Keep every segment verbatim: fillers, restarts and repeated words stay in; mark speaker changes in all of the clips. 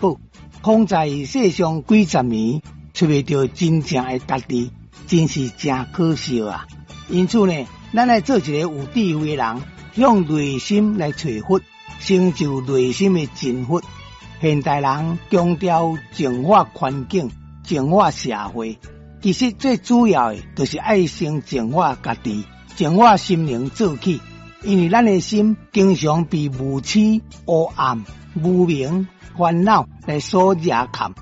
Speaker 1: 寶。空在世上幾十年，揣袂著真正的家己，真是誠可惜啊！因此呢，咱愛做一個有智慧的人，向內心來揣佛，成就內心的真佛。現代人強調淨化環境、淨化社會，其實最主要的，就是愛先淨化家己，淨化心靈做起。因為咱的心經常被無痴、黑暗、無明、煩惱來所惹崁。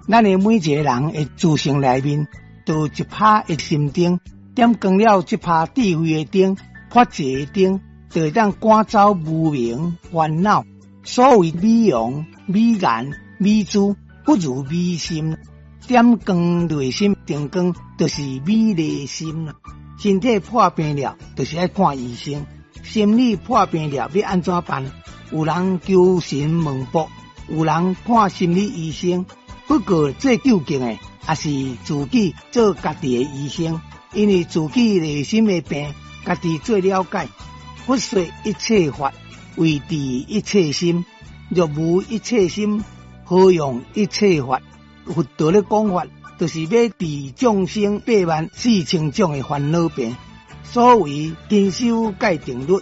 Speaker 1: 咱的每一個人的自性內面，都有一拍的心燈，點光了這拍智慧的燈、法界的燈，就會當趕走無明煩惱。所謂美容、美顏、美姿，不如美心。點光內心燈光，就是美麗心啦。身體破病了，就是愛看醫生；心理破病了，欲按怎辦？有人求神問卜，有人看心理醫生。不過最究竟的，也是自己做家己的醫生，因為自己內心的病，家己最了解。佛說一切法，唯治一切心。若無一切心，何用一切法？佛陀咧講法，就是欲治眾生八萬四千種的煩惱病。所謂勤修戒定律，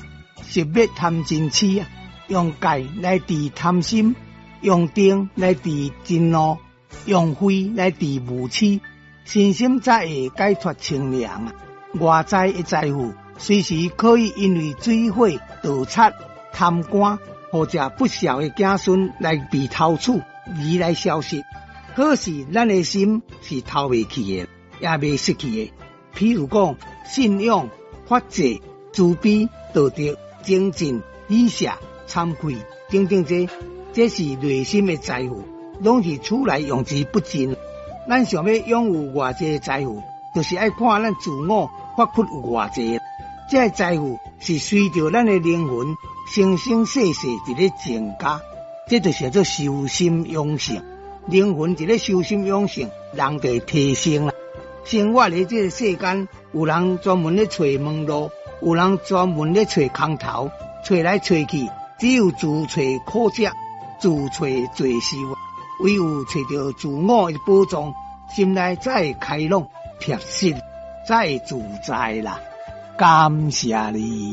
Speaker 1: 熄滅貪嗔癡啊！用戒來治貪心，用定來治嗔怒，用慧來治無癡，身心才會解脫清涼啊！外在的財富隨時可以因為水火、盜賊、貪官或者不肖的子孫來被偷取而來消失。可是咱的心是偷袂去的，也袂失去的。譬如講，信仰、法制、慈悲、道德、精進、喜捨、慚愧等等這，這是內心的財富，攏是厝內用之不盡。咱想欲擁有偌濟財富，就是愛看咱自我發掘有偌濟。這个財富是隨著咱的靈魂生生世世佇咧增加，這就是叫做修心養性。靈魂佇咧修心養性，人就會提升啦。生活佇這个世間，有人專門咧揣門路，有人專門咧揣空頭，揣來揣去，只有自揣苦食，自揣罪受。唯有揣著自我的寶藏，心內才會開朗、踏實，才會自在啦。感謝你。